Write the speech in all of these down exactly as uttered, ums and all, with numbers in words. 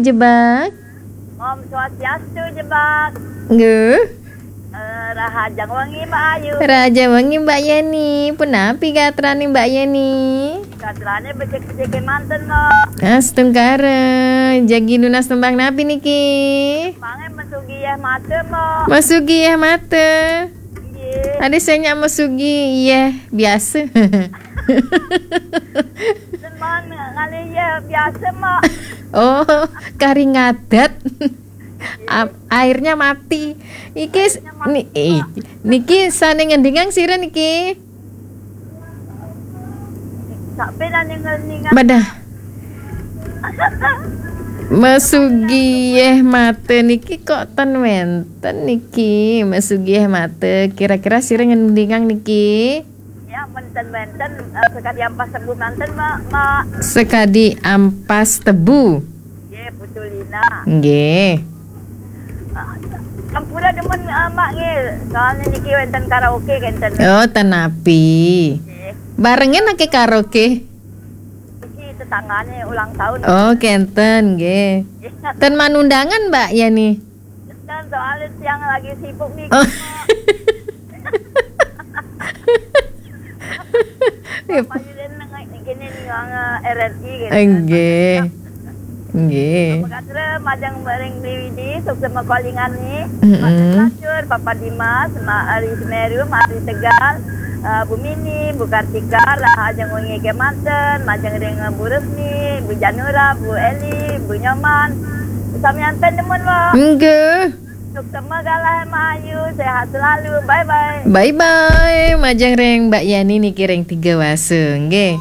Jebak. Om Swastiastu, Jebak. Nggih. Eh, rahajeng wengi, Mbak Ayu. Rahajeng wengi, Mbak Yeni. Punapi gatrane Mbak Yeni? Gatrane becik-becike manten, Mbak. Astungkara, jagi nunas tembang napi niki? Mangke mesugi yeh mate, Mbak. Mesugi yeh mate. Nggih. Ade sing nyak mesugi yeh biasa. Teman ngalih yeh biasa, Mbak. Oh, kari ngadat. Ap- airnya mati. Iki s- Airnya mati, ni, eh, Mbak. Niki sane ngendingang sira niki? Sampai nang ninggal-ninggal. Madah. Mesugi yeh mate niki kok ten wenten niki. Mesugi yeh mate. Kira-kira sira ngendingang niki? Ya, menten-menten, eh, sekadi ampas tebu manten, Mak, Mak. Sekadi ampas tebu. Nggih, Putu Lina. Nggih. Ah, sampura demen, eh, Mak, nggih. Soalnya niki wenten karaoke kenten. Oh, tenapi. Nggih. Barengan ake karaoke? Iki tetanggane ulang tahun. Oh, kenten, nggih. Nggih. Ten manundangan, Mbak Yani? Kan soalnya siang lagi sibuk nih. Oh. Mak. Iya. Pak Yudin nengok gini nih, wong, eh, R R I gitu. Nggih. Nggih. Apa kabar, majeng bareng B W D, sukses makalingane. Mm-mm. Mak Lacur, Papa Dimas, Mak Ari Semeru, Mak Ari Tegal, eh, Bu Mini, Bu Kartika, rahajeng wengi kemanten, majeng ring Bu Resmi, Bu Janura, Bu Eli, Bu Nyoman. Sami anten demen, Mbak. Nggih. Sukses galah, Mak Ayu, sehat selalu. Bye bye. Bye bye. Majeng ring Mbak Yani niki ring Tiga Wase, nggih.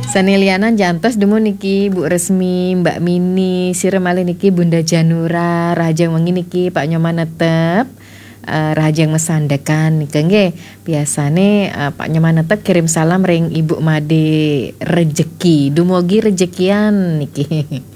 Sane lianan jantos dumun niki, Bu Resmi, Mbak Mini, sira malih niki Bunda Janura, rahajeng wengi niki Pak Nyoman Netep, eh, rahajeng masandekan nika nggih. Biasane, eh, Pak Nyoman Netep kirim salam ring Ibu Made Rejeki. Dumugi rejekian niki.